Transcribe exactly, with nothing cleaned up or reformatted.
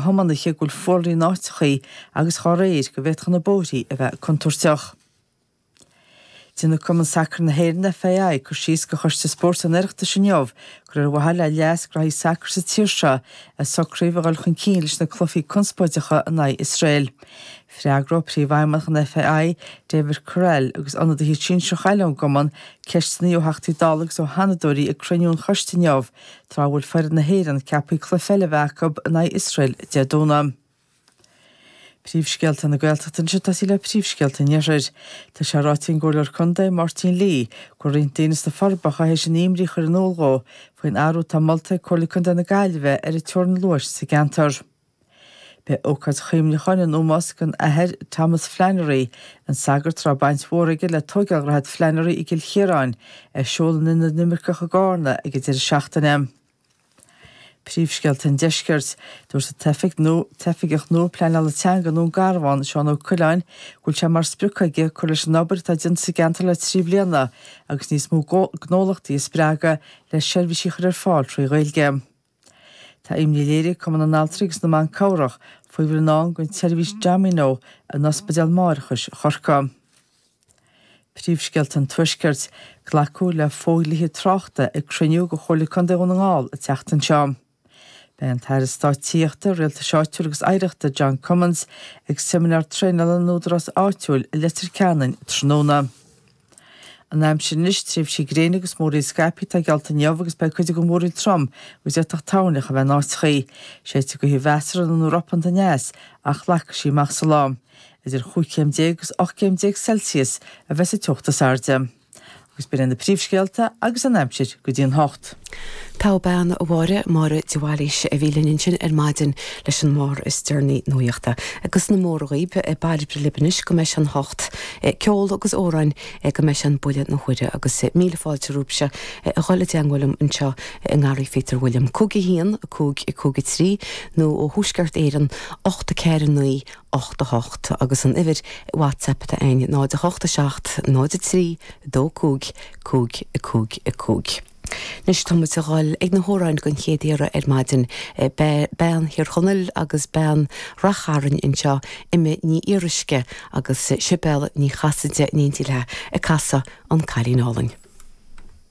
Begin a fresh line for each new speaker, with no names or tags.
thiománaithe go bhfuil fuarlaigh in áiteachaí agus dhá réir go bhféadfadh na bóithrí a bheith contúirteach. Déanfaidh Cumann Sacair na hÉireann, FAI, cur síos do Choiste Spóirt an Oireachtais inniu gur ar mhaithe le leas graithí sacair sa tír seo a socraíodh a dhul chun cinn leis na cluichí conspóideacha in aghaidh Iosrael. Freagróidh Príomhfheidhmeannach an FAI, David Courell, agus ionadaithe sinsearacha eile ón gcumann ceisteanna ó Theachtaí Dála agus ó Sheanadóirí ag cruinniú an choiste inniu, tráth a bhfuil foireann na hÉireann ceaptha cluiche eile a bheith acu in aghaidh Iosrael Dé Domhnaigh. Príomhscéalta na Gaeltachta anseo ag tosaí le príomhscéalta an Iarthair. Tá sé ráite ag an gComhairleoir Contae, Máirtín Lee, go bhfuil roinnt daoine sna Forbacha théis a n-imní a chur in iúl dhó faoin athrú atá molta ag Comhairle Contae na Gaillimhe ar an teorainn luais sa gceantar. Beidh ócáid chuimhneacháin in ómós don Athair Thomas Flannery, an sagart a raibh baint mhór aige le tóigeáil Dhroichead Flannery i gCill Chiaráin, ar siúl in Ionad na nImirceach i gCarna ag an deireadh seachtaine. Príomhscéalta an Deiscirt. Dúirt an t-oifig nua t-oifigeach nua pleanála teanga i nDún Garbhán, Seán Ó Coileáin, go bhfuil sé mar sprioc aige cur leis an obair atá déanta sa gceantar le trí bliana agus níos mó gnólachtaí a spreagadh le seirbhísí a chur ar fáil trí Ghaeilge. Tá imní léirithe ag Cumann na nAltraí agus na mBan Cabhrach faoi bhfuil i ndán don tseirbhís Domino in Ospidéal Máithreachais Chorcaí. Príomhscéalta an Tuaiscirt, Glacadh le fodhlíthe tráchta ag cruinniú de Chomhairle Contae Dhún na nGall an tseachtain seo. Beidh an tAire Stáit Tithíochta, Rialtais Áitiúil agus Oidhreachta John Cummins ag seimineár traenála na n-údarás áitiúil i Leitir Ceanainn tráthnóna. An aimsir anois, tréimhsí gréine agus múraíl scaipthe atá geallta inniu agus beidh cuid den mhúraíl trom agus d'fhéadfadh toirneach a bheith in áiteachaí. Séidfidh gaoth mheasartha nó ropánta aneas ach lagfaidh sí amach sa lá. Idir chúig chéim déag agus ocht gcéim déag Celsius a bheas an teocht is airde. Agus b'in iad na príomhscéalta agus an aimsir go dtí an hocht.
Togha bean, a Mháire, Máire de Bhailís a bhí linn ansin ar maidin leis an mbarr is deireanaí nuachta. Agus na móra dhaoib, bairbre libh anois go mbeidh sé an hocht, ceol agus amhráin go mbeidh sé an buille na huaire agus míle fáilte romhaibhse a dhul i dteangmháil liom anseo i nGarraí Phíotair William. Cúig a haon, cúig, cúig a trí nó ó Thuaisceart Éireann, ocht a ceathair naoi, ocht a hocht agus an uimhir WhatsApp atá againn, náid a hocht a seacht, náid a trí, dó cúig, cúig, cúig, cúig. Anois tá muid a dhul ag na hamhráin den chéad iarraidh ar maidin. Bean Thír Chonaill agus bean Rath Chairn anseo, Emma Ní Fhíoruisce agus Sibéal Ní Chasaide in éindí léi ag casadh An Cailín Álainn.